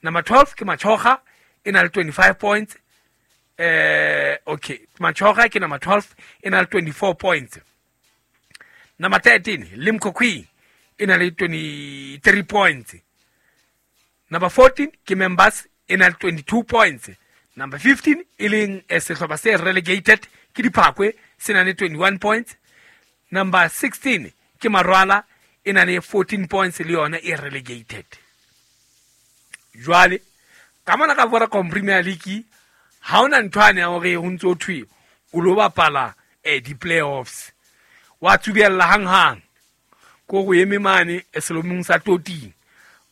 Number 12 ke Machoga e na le 25 points. Okay, Machoga ke number 12 e na le 24 points. Number 13 Limkokwing e na le 23 points. Number 14 ke Members e na le 22 points. Number 15 e leng sehlopha se relegated ke Diphakwe se na le 21 points. Number 16 ke Marwala e na le 14 points le yona e relegated. Jwale ka mona ka Vodacom Premier League ha ona ntho ane ya hore ho ntso thwe o lo bapala di-playoffs, wa tsubella hang-hang ko go eme mane selomong sa toting,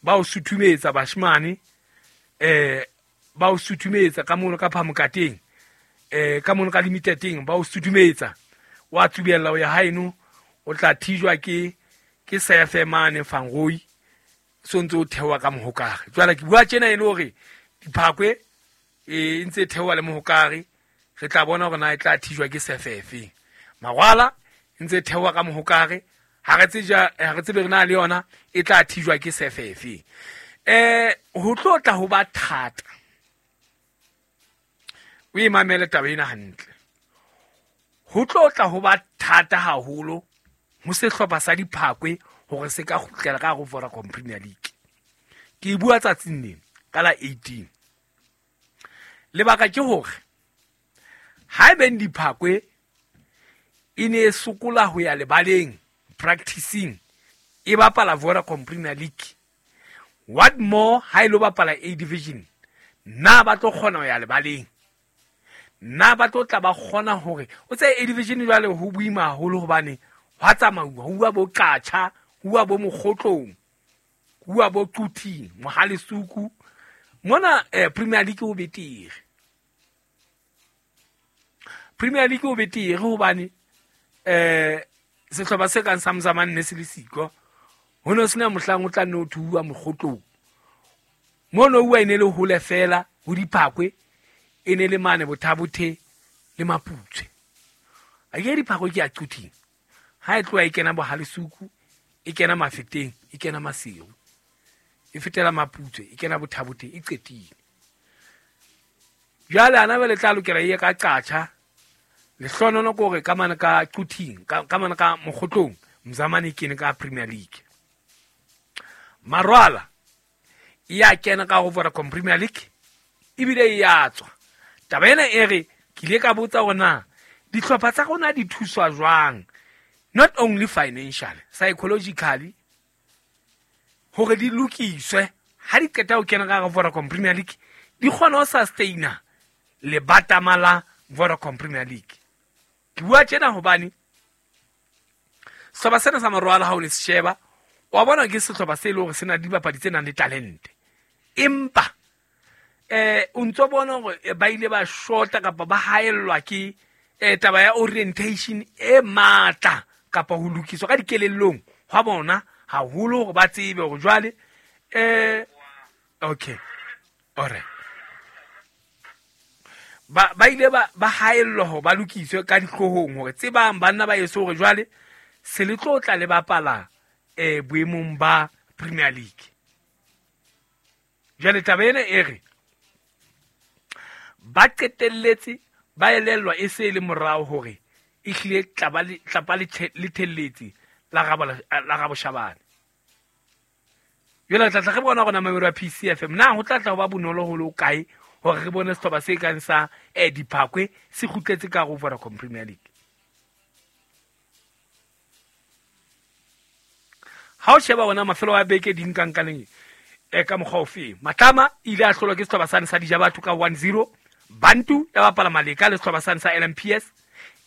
ba o suthumetsa bashemane, ba o suthumetsa ka mono ka phamokateng, ka mono ka limitedeng, ba o suthumetsa wa tsubella o ya haeno, o tla thijwa ke sefe mane Fangoi, so ntse o theoha ka mohokare. Jwale ke bua tjena e le hore Diphakwe e ntse e theoha le mohokare, re tla bona hore na e tla thijwa ke sefe efeng. Marwala e ntse e theoha ka mohokare, ha re tsebe re na le yona e tla thijwa ke sefe efeng. Ho tlo tla ho ba thata. O e mamele taba ena hantle. Ho tlo tla ho ba thata haholo ho sehlopha sa Diphakwe hore se ka kgutlela ka hare ho Vodacom Premier League. Ke e bua tsatsing lena ka la 18. Lebaka ke hore haebeng Diphakwe e ne e sokola ho ya lebaleng practicing e bapala Vodacom Premier League, what more ha e lo bapala A Division, na ba tlo kgona ho ya lebaleng? Na ba tlo tla ba kgona hore o tse A Division? Jwale ho boima haholo hobane hwa tsamauwa, ho bua bo Qacha, ho bua bo Mokgotlong, ho bua bo Quthing, Mohalesuku. Mona Premier League ho betere. Premier League ho betere hobane sehlopha se kang sa Mzamane ne se le siko. Ho ne ho sena mohlang o tla nne o thuwa Mokgotlong. Mono uwa e ne le hole fela ho Diphakwe, e ne le mane Bothabothe le Maputswe. A ke Diphakwe ke ya Quthing. Ha e tloha e kena Bohalesuku, e kena Mafeteng, e kena Maseru. E fetela Maputswe, e kena Bothabothe, e qetile. Jwale ana ba le tla lokela e ye ka Qacha. Lehlonono ke hore ka mane ka Quthing, ka mane ka Mokgotlong, Mzamane e kene ka Premier League. Marwala e ya kena ka ho Vodacom Premier League ebile e ya tswa. Taba ena e re ke ile ka botsa hore na dihlopha tsa rona di thuswa jwang, not only financially, psychologically, hore di lokiswe ha di qeta ho kena ka hare Vodacom Premier League, di kgone ho sustaina lebatama la Vodacom Premier League. Ke bua tjena hobane sehlopha sena sa Marwala ha o ne se sheba, wa bona ke sehlopha se leng hore se na le dibapadi tse nang le talente, empa o ntso bona hore ba ile ba shota kapa ba haellwa ke taba ya orientation e matla kapa ho lokiswa ka dikelellong hwa bona haholo hore ba tsebe hore jwale okay, alright, ba ile ba haellwa hore ba lokiswe ka dihloohong hore tsebang banna ba eso hore jwale se le tlo tla le bapala boemong ba Premier League. Jwale taba ena e re ba qetelletse ba elellwa e se le morao hore e hlile tlapa le thelletse la Raboshabane. Jwale tla tla re bona hore na mamelo ya PCFM na ho tla tla ho ba bonolo ho le kae hore re bone sehlopha se kang sa Diphakwe se kgutletse ka ho Vodacom Premier League. Ha o sheba ona mafelo a beke di nkankaneng ka mokgwa ofe, Matlama ile a hlolwa ke sehlopha sane sa Dijabatho ka 1-0, Bantu ya bapala Maleka le sehlopha sane sa LMPS,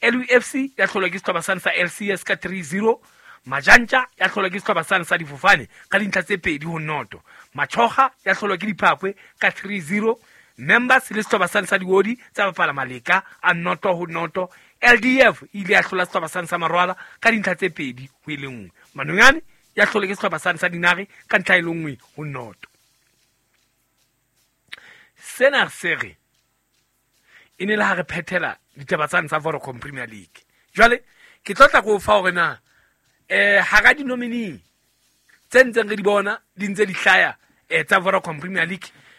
LUFC ya hlolwa ke sehlopha sane sa LCS ka 3-0, Majantja ya hlolwa ke sehlopha sane sa Difofane ka dintlha tse 2-0, Machoga ya hlolwa ke Diphakwe ka 3-0, Members le sehlopha sane sa Diodi tsa bapala Maleka a 0-0, LDF ile ya hlola sehlopha sane sa Marwala ka dintlha tse 2-1, Manonyane ya hlolwa ke sehlopha sane sa Dinare ka ntlha e le 1-0. Sena se re e ne le ha re phethela ditaba tsane tsa Vodacom Premier League. Jwale ke tlo tla ko fa hore na hara di-nominee tse ntseng re di bona di ntse di hlaya tsa Vodacom Premier League,